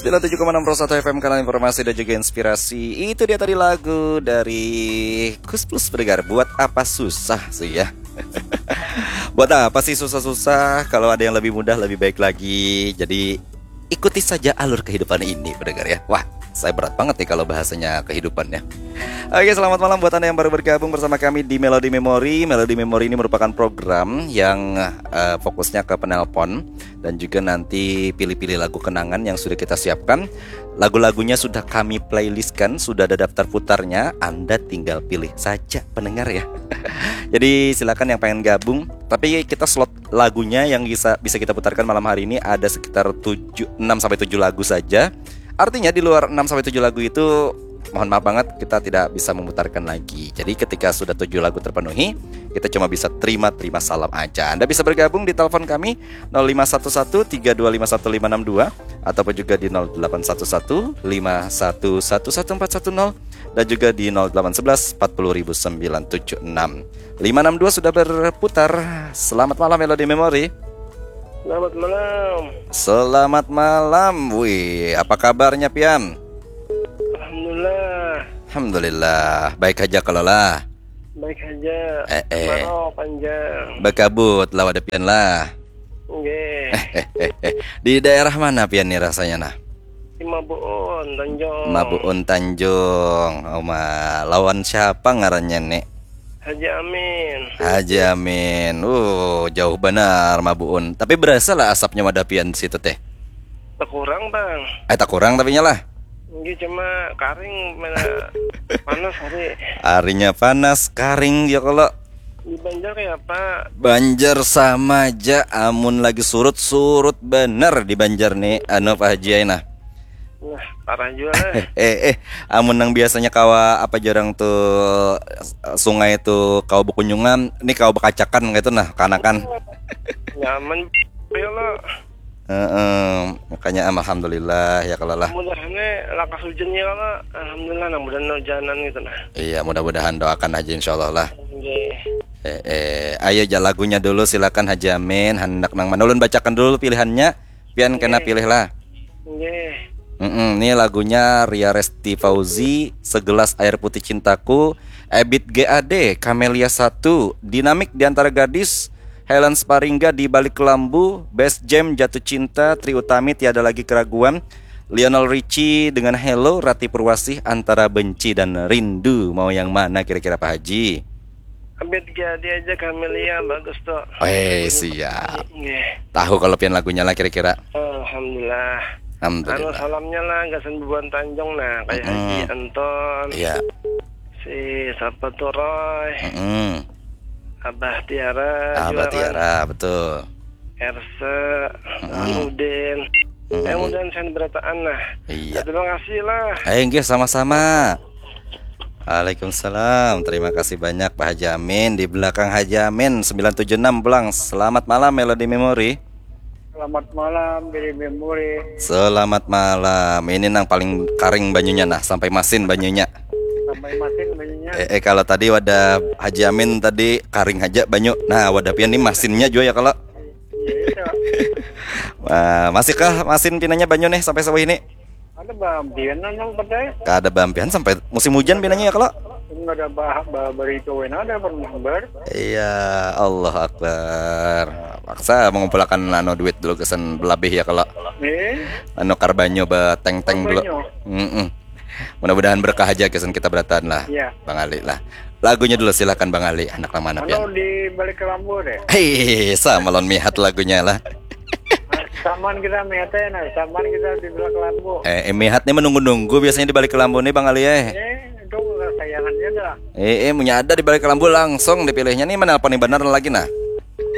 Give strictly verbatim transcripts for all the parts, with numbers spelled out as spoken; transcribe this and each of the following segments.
Sembilan tujuh koma enam Pro satu F M, kanal informasi dan juga inspirasi. Itu dia tadi lagu dari Kus Plus Pendengar. Buat apa susah sih ya? Buat apa sih susah-susah? Kalau ada yang lebih mudah, lebih baik lagi. Jadi ikuti saja alur kehidupan ini, pendengar ya. Wah, saya berat banget nih kalau bahasanya kehidupannya. Oke, selamat malam buat Anda yang baru bergabung bersama kami di Melody Memory. Melody Memory ini merupakan program yang eh, fokusnya ke penelpon dan juga nanti pilih-pilih lagu kenangan yang sudah kita siapkan. Lagu-lagunya sudah kami playlistkan, sudah ada daftar putarnya. Anda tinggal pilih saja, pendengar ya. Jadi silakan yang pengen gabung. Tapi kita slot lagunya yang bisa bisa kita putarkan malam hari ini ada sekitar tujuh, enam sampai tujuh lagu saja. Artinya di luar enam sampai tujuh lagu itu, mohon maaf banget, kita tidak bisa memutarkan lagi. Jadi ketika sudah tujuh lagu terpenuhi, kita cuma bisa terima-terima salam aja. Anda bisa bergabung di telepon kami nol lima satu satu tiga dua lima satu lima enam dua ataupun juga di nol delapan satu satu lima satu satu satu empat satu nol dan juga di nol delapan sebelas empat puluh ribu sembilan tujuh enam. Lima enam dua sudah berputar. Selamat malam, Melody Memory. Selamat malam. Selamat malam. Wih, apa kabarnya, pian? Alhamdulillah. Alhamdulillah. Baik aja kalau lah. Baik aja. Eh, eh. Kemarau panjang. Bekabut lah wadah pian lah. Nggih. Di daerah mana pian nih rasanya nah? Di Mabuun, Tanjung. Mabuun, Tanjung. Oma, lawan siapa ngarannya nih? Haji Amin. Haji Amin. Uh, jauh benar Mabuun. Tapi berasa lah asapnya wadah pian situ teh. Takurang, Bang. Eh, takurang tapi nyalah. Nggih, cuma karing mana panas hari. Harinya panas, karing ya kalau. Di Banjar kayak apa? Banjar sama aja, amun lagi surut, surut bener di Banjar nih, anu, Pak Haji, ai, nah. Nah, parah juga lah. Eh, eh, amun nang biasanya kawa apa jarang tuh, sungai tuh kawa bekunjungan, nih kawa bekacakan gitu nah, kanakan. Nyaman ya lo. Heeh, makanya am, alhamdulillah ya kalau lah. Mudahannya lakas hujannya kalau alhamdulillah, nah, mudahan hujanan gitu nah. Iya, mudah-mudahan, doakan aja insyaallah lah. Nggih. Eh, eh, ayo ja lagunya dulu, silakan Haji Amin, handak nang mana ulun bacakan dulu pilihannya. Pian kena Nggih. Pilih lah. Nggih. Mm-mm, ini lagunya Ria Resti Fauzi, Segelas Air Putih Cintaku, Ebit G A D, Kamelia satu, Dinamik di Antara Gadis, Helen Sparingga di Balik Kelambu, Best Jam Jatuh Cinta, Trie Utami Tiada Lagi Keraguan, Lionel Richie dengan Hello, Rati Purwasih Antara Benci dan Rindu. Mau yang mana kira-kira, Pak Haji? Abit G A D aja, Kamelia bagus tuh. Eh, siap. Nggih. Tahu kalau pian lagunya lah kira-kira. Alhamdulillah. Alhamdulillah. Anu, salamnya lah gasan bubuhan Tanjung nah, kayak Mm-mm. Haji Anton. Iya. Si siapa tuh, Roy? Mm-mm. Abah Tiara. Abah juga kan? Tiara, betul. Erse, Mm-mm. Udin. Mm-mm. Eh, Udin, saya berataan lah. Iya. Terima kasih lah. Eh, nggih, sama-sama. Waalaikumsalam. Terima kasih banyak, Pak Haji Amin. Di belakang Haji Amin, sembilan tujuh enam pulang. Selamat malam, Melody Memory. Selamat malam, Melody Memory. Selamat malam. Ini nang paling karing banyunya nah, sampai masin banyunya. Sampai masin banyunya. Eh, eh, kalau tadi wadah Haji Amin tadi karing aja banyu. Nah, wadah pian ni masinnya juga ya kalau. Iya, iya. Wah, masihkah masin pinanya banyu nih sampai sawah ini? Ada bampian nang percaya. Kada bampian sampai musim hujan pinanya ya kalau. Enggak ada bah, bah, berita wena ada pernah ber. Iya, Allah Akbar. Paksa mengumpulkan anu duit dulu kesan belabih ya kalau. Eh? Anu kar banyu beteng-teng dulu. Banyu. Mm-mm. Mudah-mudahan berkah aja kesan kita berataan lah. Iya. Bang Ali lah. Lagunya dulu silakan Bang Ali, anak nang mana pian? Anu di Balik Kelambu deh. Hei, sama lawan Mihat lagunya lah. Saman kita Mihat ya, nah, saman kita di Balik Kelambu. Eh, eh, Mihat nih menunggu-nunggu biasanya di Balik Kelambu nih Bang Ali eh. Eh, itu kesayangannya dah. Eh, eh, punya ada di Balik Kelambu langsung dipilihnya nih, menelpon nih benar lagi nah.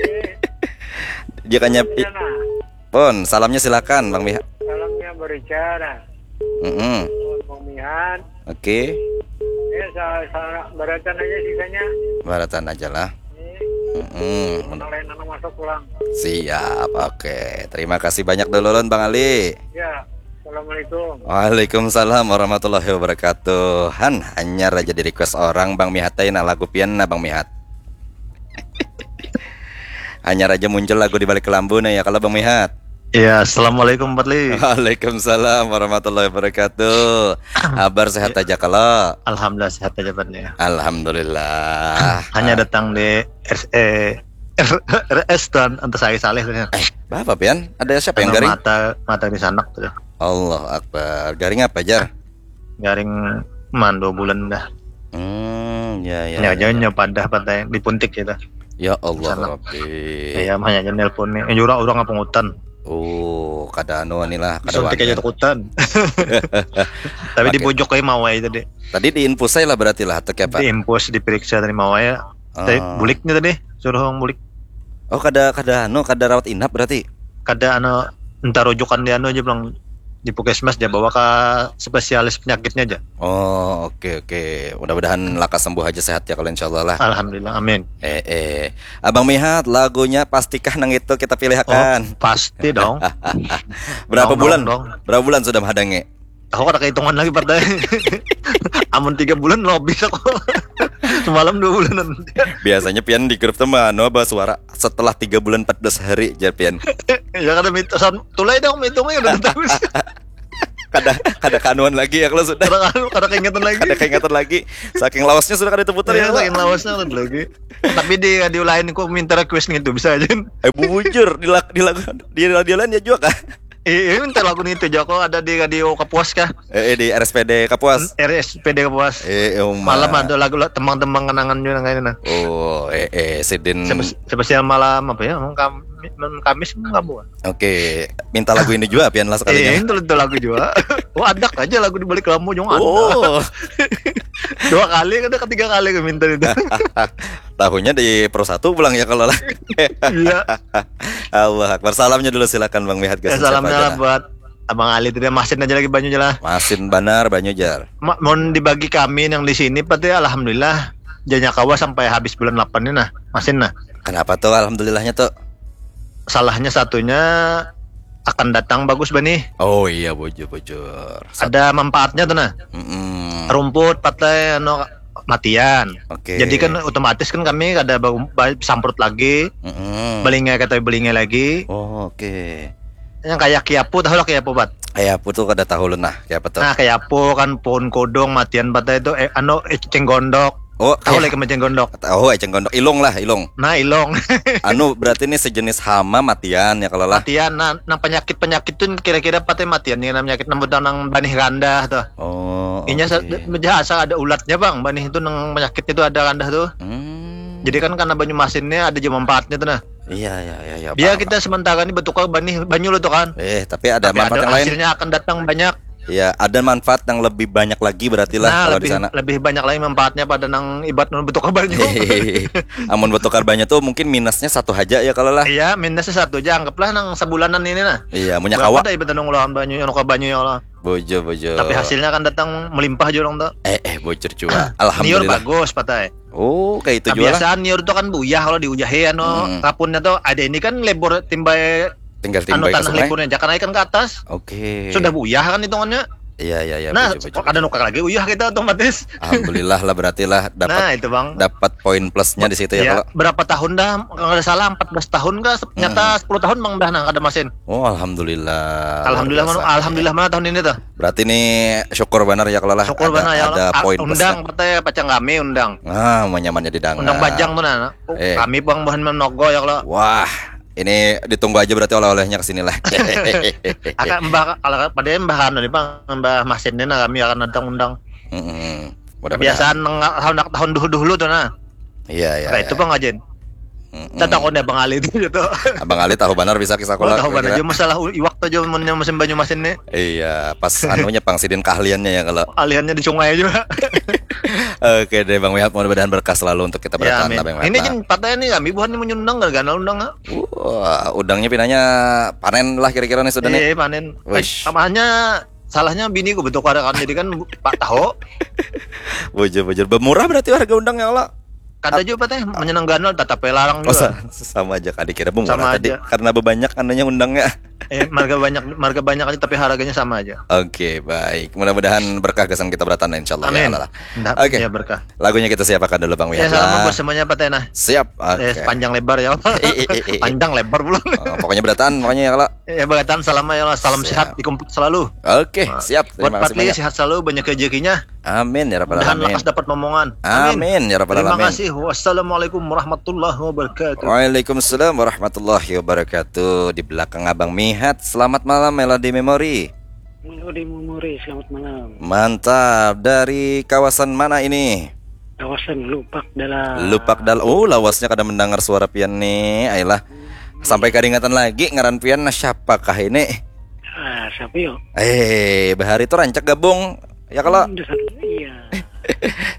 Eh. Dia kanya Iya, nah. Pun, salamnya silakan Bang Mihat. Salamnya bericara. Mm-mm. Bang Mihat. Oke. Ya, sa, sa, baratan aja sisanya. Baratan aja lah. Iya. Mm-mm. Orang lain anu masuk pulang. Siap, oke. Terima kasih banyak dulu Lun, Bang Ali. Ya, assalamualaikum. Waalaikumsalam warahmatullahi wabarakatuh. Han, hanyar aja di request orang Bang Mihat aja nah lagu pian nah Bang Mihat. Hanyar aja muncul lagu di Balik Kelambu nah ya kalau Bang Mihat. Ya, assalamualaikum Fadli. Waalaikumsalam warahmatullahi wabarakatuh. Habar sehat aja kalau? Alhamdulillah sehat aja Fadli. Alhamdulillah. Hanya datang di R S, eh, R S dan Antasari Saleh tadi. Bapak pian, ada siapa yang garing? Mata mata di sanak tuh. Allah Akbar. Garing apa, Jar? Garing man dua bulan dah. Hmm, ya ya. Ya, jauhnya padah padah di puntik gitu. Ya Allah Rabbi. Ya, makanya aja nelpon nih. Jurang orang apa ngutan. Oh, kada anu ni lah, kada Suntik aja wani. Takutan. Tapi di bojok kayak mawai tadi. Tadi diinfus saya lah berarti lah atau kayak apa? Diinfus, diperiksa dari mawai. Tapi Ah. Buliknya tadi suruh orang bulik. Oh, kada kada anu, kada rawat inap berarti. Kada anu, entah rujukan di anu aja bilang di puskesmas dia bawa ke spesialis penyakitnya aja. Oh, oke oke. Mudah-mudahan lakas sembuh aja sehat ya kalau insyaallah lah. Alhamdulillah, amin. Eh eh. Abang Mihat, lagunya pastikah nang itu kita pilihakan? Oh, pasti dong. Berapa dong, bulan? Dong, dong. Berapa bulan sudah menghadangi? Aku kada kehitungan lagi partai. Amun tiga bulan lo habis aku. Semalam dua bulanan. Biasanya pian di grup tuh mah anu apa suara setelah tiga bulan empat belas hari, jar pian. Ya kada mitos, tulai dong hitungnya udah tahu. Kada kada kanuan lagi ya kalau sudah. Kada kada keingetan lagi. Kada keingatan lagi. Saking lawasnya sudah kada terputar ya. Ya, saking lawasnya kan lagi. Tapi di radio lain kok minta request gitu bisa aja. Eh, bujur di lagu di lagu di radio lain ya juga kah? Eh, minta lagu nih itu Joko ada di radio Kapuas kah? Eh, eh, di R S P D Kapuas. R S P D Kapuas. Eh, eh, Uma. Malam ada lagu lah tembang-tembang kenangan juga nang ini nah. Oh, eh eh sidin. Spesial malam apa ya? Emang Kam- Kamis emang kamu. Oke, minta lagu ini juga pian lah Eh, sekalinya. Itu itu lagu juga. Wah, ada aja lagu di balik lampu juga ada. Oh, Dua kali kan, ketiga kali aku minta itu. Tahunya di Pro Satu pulang ya kalau lah. Iya. Allah Akbar. Salamnya dulu silakan Bang Mihat. Ya, salamnya lah buat Abang Ali tadi, masin aja lagi banyu aja lah. Masin banar banyu jar. Ma- Mohon dibagi kami yang di sini pati alhamdulillah. Janya kawa sampai habis bulan delapan ini nah, masin nah. Kenapa tuh alhamdulillahnya tuh? Salahnya satunya akan datang bagus benih. Oh iya, bujur bujur. Ada manfaatnya tuh nah. Mm-mm. Rumput patai anu matian. Oke. Jadi kan otomatis kan kami kada ba- ba- samprut lagi, Mm-mm. belingai kata belingai lagi. Oh, oke. Yang kayak kiapu, tahu lah kiapu, Pat? Kayak apa tuh kada tahu lu nah, kayak apa tuh? Nah, kiapu kan pohon kodong matian patai itu eh, anu eceng gondok. Oh, Tahu eh, lagi eceng gondok? Oh, eceng gondok. Ilung lah, ilung. Nah, ilong. Anu berarti ini sejenis hama matian ya kalau lah. Matian, nah, nang penyakit-penyakit tuh kira-kira patai matian nih, nang penyakit nang nang banih randah tuh. Oh. Inya Oke. sa- asal ada ulatnya bang, banih itu nang penyakitnya tuh ada randah tuh. Hmm. Jadi kan karena banyu masinnya ada juga manfaatnya tuh nah. Iya iya iya iya. Biar paham, kita sementara ini bertukar banih banyu lo tuh kan. paham. Eh, tapi ada Tapi manfaat ada yang lain. Hasilnya akan datang banyak. Ya, ada manfaat yang lebih banyak lagi berarti lah Nah, kalau lebih di sana. Lebih banyak lagi manfaatnya pada nang ibat nang bertukar banyu. Amun bertukar banyak tuh mungkin minusnya satu aja ya kalau lah. Iya, minusnya satu aja, anggaplah nang sebulanan ini nah. Iya, punya Berapa kawa. Ada ibat nang ulahan banyu yang nukar banyu ya Allah. Bojo bojo. Tapi hasilnya akan datang melimpah jurang tuh. Eh eh bocor juga. Niur Alhamdulillah. Bagus patai. Oh, kayak itu juga lah. Kebiasaan niur tuh kan buyah kalau diujahi anu Hmm. Rapunnya tuh ada ini kan lebur timbai Tinggal anu timbai tanah ke sungai. Leburnya, jangan kan ke atas. Oke. Sudah buyah kan hitungannya. Iya iya iya. Nah, Bojo, bojo. Ada nukar lagi uyah kita otomatis. Alhamdulillah lah berarti lah Nah, dapat itu bang. Dapat poin plusnya di situ ya, Ya, kalau. Berapa tahun dah? Kalau nggak salah empat belas tahun kah? Nyata sepuluh tahun bang dah nah kada masin. Oh, alhamdulillah. Alhamdulillah Luar mana, biasa. Alhamdulillah mana tahun ini tuh. Berarti ini syukur benar ya kalau lah. Syukur ada, benar ya ada Allah. Ah, poin undang plusnya. Patai pacang kami undang. Ah, mau nyamannya didangar. Undang bajang tuh nah. Oh, Eh. Kami bang bahan menogo ya kalau. Wah, ini ditunggu aja berarti oleh-olehnya ke sini lah. Akan mbah kalau pada mbah anu nih bang, mbah masin nih nah kami akan datang undang. Mm-mm. Mudah-mudahan. Kebiasaan nang tahun tahun dulu dulu tuh nah. Iya iya. Nah Iya. Itu bang Ajin. Mm-mm. Kita takutnya bang Ali itu gitu. Abang Ali tahu benar bisa kisah Oh, kalau tahu kira-kira. Aja masalah u- iwak tuh aja mun yang musim banyu masin nih. Iya, pas anunya pang sidin keahliannya ya kalau. Aliannya di sungai juga. Oke deh Bang Mihat, mudah-mudahan berkah selalu untuk kita Ya, bertahan amin. lah Bang Ini Mihat. Jin patah ini kami buhan ini menyundang gara-gara undang ah. Wah, udangnya pinanya panen lah kira-kira nih sudah nih. Iya panen. Wish. Tamanya salahnya bini gue betul kan jadi kan bu- pak tahu. Bujur-bujur. Bermurah berarti harga undang ya Allah. Kada juga patah menyenang ganal tetap larang Oh, juga. sa- sama aja kali kira bermurah Sama tadi aja. Karena bebanyak anunya undangnya. Eh, marga banyak, marga banyak aja tapi harganya sama aja. Oke, baik. Mudah-mudahan berkah gasan kita berataan, insyaallah, ya Amin. Allah. Ndak, Oke. Ya, berkah. Lagunya kita siapakan dulu, Bang Ya, Mihat salam lah. Buat semuanya, Pak Tena. Siap. Oke. Eh, panjang lebar ya. Eh, eh, eh, eh. Panjang lebar pulang. Oh, pokoknya berataan, pokoknya ya kalau. Ya, berataan, salam ya Allah. Salam Siap. Sehat, dikumpul selalu. Oke, Nah, siap. Buat Terima kasih Patli, banyak. Sehat selalu, banyak rezekinya. Amin ya rabbal Mudahan alamin. Lakas dapat momongan. Amin ya rabbal Terima alamin. Kasih. Wassalamualaikum warahmatullahi wabarakatuh. Waalaikumsalam warahmatullahi wabarakatuh. Di belakang Abang Mihat, selamat malam Melody Memory. Melody Memory, selamat malam. Mantap. Dari kawasan mana ini? Kawasan Lupak Dalam. Lupak Dalam. Oh, lawasnya kada mendengar suara pian nih. Ayolah. Sampai karingatan lagi ngaran pian, nah, siapakah ini? Ah, siapa yo? Eh, bahari itu rancak gabung. Ya kalau Hmm, dasar- iya.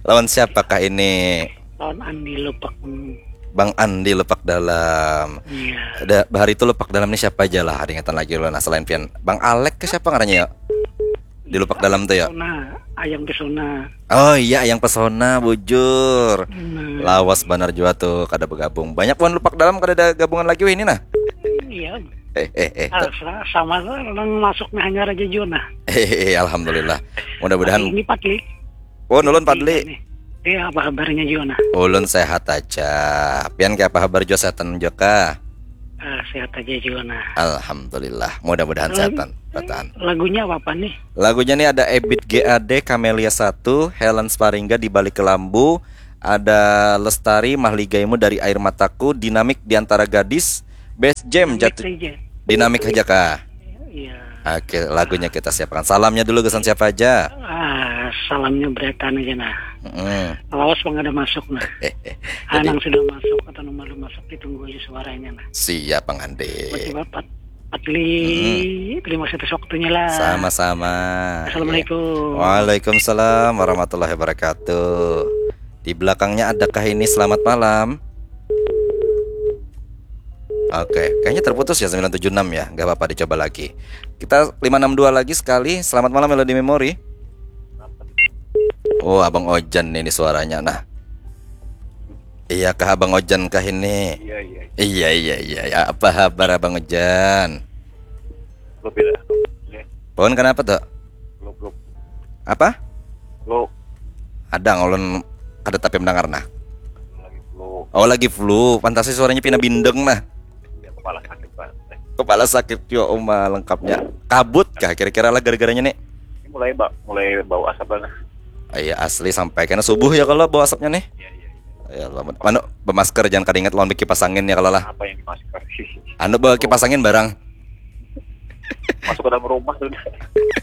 Lawan siapakah ini? Lawan Andi Lupak. Hmm, Bang Andi Lupak Dalam. Iya. Ada bahari itu Lupak Dalam nih siapa aja lah, ada ingatan lagi lo, nah, selain pian. Bang Alek ke siapa ngarannya ya? Di Lupak Dalam tuh ya. Pesona, Ayang Pesona. Oh iya, Ayang Pesona, bujur. Nah, Lawas banar jua tuh kada bergabung. Banyak buhan Lupak Dalam kada ada gabungan lagi weh ini nah. Iya. Eh eh eh. Ah, sa- sama lah, orang masuk nah hanya Raja Juna. Eh, eh, alhamdulillah. Mudah-mudahan. Ini Patli. Oh, nulun Padli. Ini. Eh, apa kabarnya Juna? Ulun sehat aja. Pian kayak apa kabar jua, sehatan juga? Ah, sehat aja Juna. Alhamdulillah. Mudah-mudahan Lagu- sehatan. Berataan. Lagunya apa nih? Lagunya nih ada Ebit G A D, Camelia satu, Helen Sparingga di Balik Kelambu, ada Lestari, Mahligaimu dari Air Mataku, Dinamik di Antara Gadis, Best Jam jatuh. Saja. Dinamik aja kah? Iya. Oke, lagunya kita siapkan. Salamnya dulu gasan siapa aja? Ah, salamnya berataan aja nah. Mm-mm. Lawas pang ada masuk nah. Jadi- Anang sudah masuk atau belum masuk, ditunggu aja suaranya nah. Siap, Bang Andi. Buat Bapak Patli, terima kasih atas waktunya lah. Sama-sama. Assalamualaikum. Waalaikumsalam warahmatullahi wabarakatuh. Di belakangnya adakah ini? Selamat malam. Oke, kayaknya terputus ya sembilan tujuh enam ya. Nggak apa-apa, dicoba lagi. Kita lima enam dua lagi sekali. Selamat malam Melody Memory. Oh, Abang Ojan nih, ini suaranya. Nah. Iya kah Abang Ojan kah ini? Iya, iya. Iya, iya, iya. Ya, apa kabar Abang Ojan? Lo beda. Ya, Pohon kenapa tuh? lo, lo, Apa? lo Ada ngolon kada tapi mendengar nah. Lagi lo. Oh, lagi flu. Pantasnya suaranya pina bindeng nah. Ya, kepala sakit banget. Kepala sakit yo, uma lengkapnya. Kabut kah kira-kira lah gara-garanya nih? Ini mulai ba mulai bau asap lah. Iya, asli sampai kena subuh ya kalau bau asapnya nih. Iya, iya. Ya Allah, anu, bemasker, jangan kada ingat lawan kipas angin ya kalau lah. Apa yang dimasker? Anu, bawa kipas angin barang. Masuk ke dalam rumah sudah.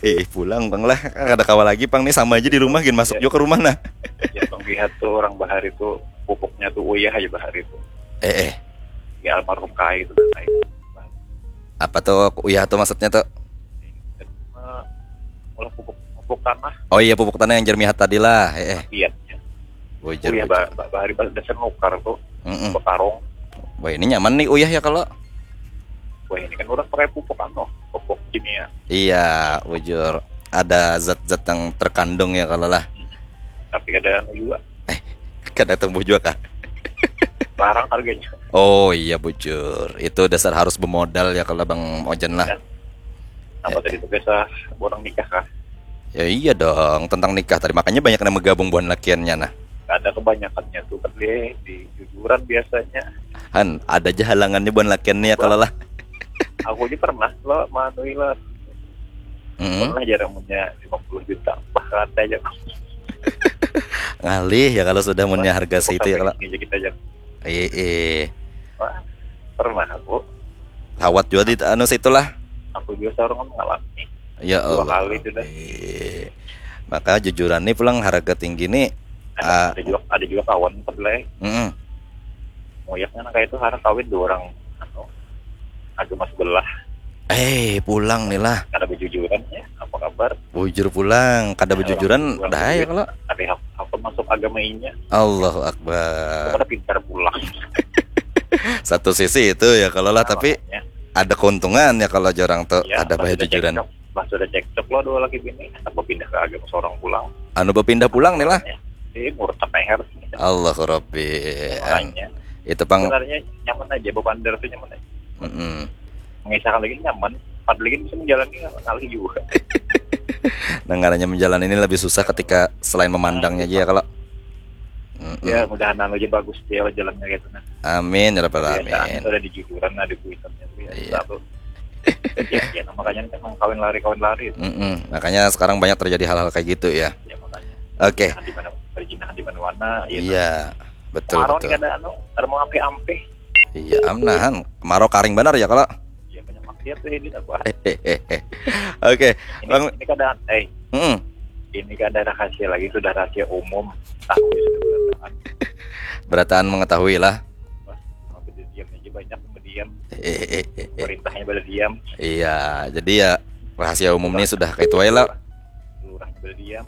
Eh, pulang bang lah, kada kawa lagi pang nih, sama aja di rumah gin masuk juga ke rumah nah. Ya, Bang Lihat tuh orang bahari tuh pupuknya tuh uyah aja bahari tuh. Eh, eh. Ya almarhum Kai itu dan lain. Apa tuh uyah tuh maksudnya tuh? Eh, Olah pupuk pupuk tanah. Oh iya, pupuk tanah yang jermihat tadi lah. Eh, eh. Iya. Bujur, Uyah bujur. ba- ba- bahari ba- dasar nukar tuh. Mm-mm. Bekarong. Wah, ini nyaman nih uyah ya kalau. Wah, ini kan orang pakai pupuk anu, pupuk kimia. Iya, bujur. Ada zat-zat yang terkandung ya kalau lah. Tapi ada anu juga. Kada tumbuh juga kah? Larang harganya. Oh iya, bujur. Itu dasar harus bermodal ya kalau Bang Ojan lah. Apa tadi tuh biasa orang nikah kah? Ya iya dong, tentang nikah tadi. Makanya banyak yang menggabung buhan lakiannya nah. Ada kebanyakannya tuh kan dia di jujuran biasanya. Han, ada aja halangannya buhan lakiannya ya kalau lah. Aku aja pernah lo manui lah. Mm-mm. Pernah jarang punya lima puluh juta. Bah, ada aja. Ngalih ya kalau sudah punya harga segitu ya kalau. Ini aja kita aja. Iya, iya. Wah, pernah aku. Lawat juga di anu situ lah. Aku juga seorang kan ngalami. Ya Dua Allah. Kali itu dah. Iya. Maka jujuran nih pulang harga tinggi nih. Ah, Ada juga ada juga kawan kedelai. mm-mm. Ngoyaknya nang kayak itu harus kawin dua orang anu agama sebelah. Eh, pulang nih lah. Ada berjujuran ya. Apa kabar? Bujur pulang, kada berjujuran dah ya kalau. Tapi aku, aku masuk agama inya. Allahu Akbar. Aku pada pintar pulang. Satu sisi itu ya kalau lah, tapi Makanya, ada keuntungan ya kalau jorang tuh ya, ada pas bahaya sudah jujuran. Cekcok, pas sudah cekcok lo dua lagi bini, apa pindah ke agama seorang pulang? Anu berpindah pulang nih lah. Ya, jadi murtad leher. Allahu Rabbi. An- Makanya Itu pang. Sebenarnya nyaman aja, bepander tuh nyaman aja. Mm-mm. Mengisahkan lagi nyaman. Padahal kan bisa menjalani ngalih juga. Nah, ngarannya menjalani ini lebih susah ketika selain memandangnya aja ya kalau. Mm-mm. Ya mudahan anu aja bagus dia lah jalannya gitu nah. Amin ya rabbal Biasaan alamin. Itu ada di jujuran, ada duitan ya. Iya. Satu. Ya, ya, nah, makanya kan emang kawin lari, kawin lari. Mm-mm. Makanya sekarang banyak terjadi hal-hal kayak gitu ya. Ya makanya. Oke. Nah, di mana, berjinahan di mana-mana. Ya, Iya, betul Kemarau betul. Nih ada anu, ada mau ampe-ampe. Iya, amnahan. Kemarau karing benar ya kalau. Ya banyak maksiat tuh ini apa? Oke, Ini, Bang. Ini keadaan, eh, Mm-mm. Ini keadaan rahasia lagi, sudah rahasia umum. Tahu ya, sudah berataan. Berataan mengetahui lah. Wah, sampai diam aja banyak yang berdiam. Eh, eh, eh, eh. Pemerintahnya pada diam. Iya, jadi ya rahasia umum ini sudah kayak itu aja lah. Lurahnya pada diam.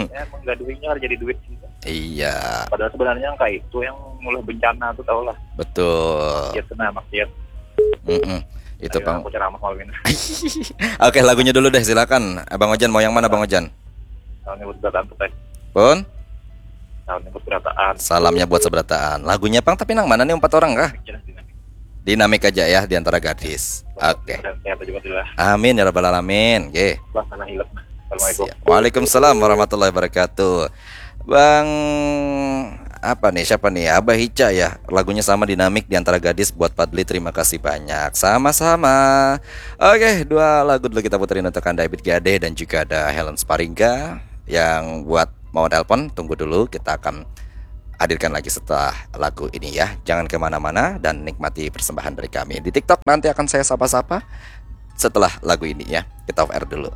Ya, menggaduhinya harus jadi duit sih. Iya, Padahal sebenarnya yang kayak itu yang mulai bencana tuh tau lah. Betul. Maksiat tuh nah, maksiat. Mm-mm. Itu Ayo, Bang. Aku ceramah malam ini. Oke, lagunya dulu deh, silakan. Abang Ojan mau yang mana, Bang Ojan? Tahun ini buat berataan tuh, Teh. Pun? Tahun ini buat berataan. Salamnya buat seberataan. Lagunya Pang, tapi nang mana nih, empat orang kah? Jelas dinamik. Dinamik aja ya di antara gadis. Oke. Dan sehat aja buat lah. Amin ya rabbal alamin. Oke. Lah, sana hilap nah. Assalamualaikum. Siap. Waalaikumsalam warahmatullahi wabarakatuh. Bang apa nih, siapa nih? Abah Ica ya. Lagunya sama, dinamik di antara gadis, buat Padli. Terima kasih banyak. Sama-sama. Oke, dua lagu dulu kita puterin untuk Anda, Ibit Gadeh dan juga ada Helen Sparingga yang buat mau nelpon. Tunggu dulu, kita akan hadirkan lagi setelah lagu ini ya. Jangan kemana-mana dan nikmati persembahan dari kami. Di TikTok nanti akan saya sapa-sapa setelah lagu ini ya. Kita off air dulu.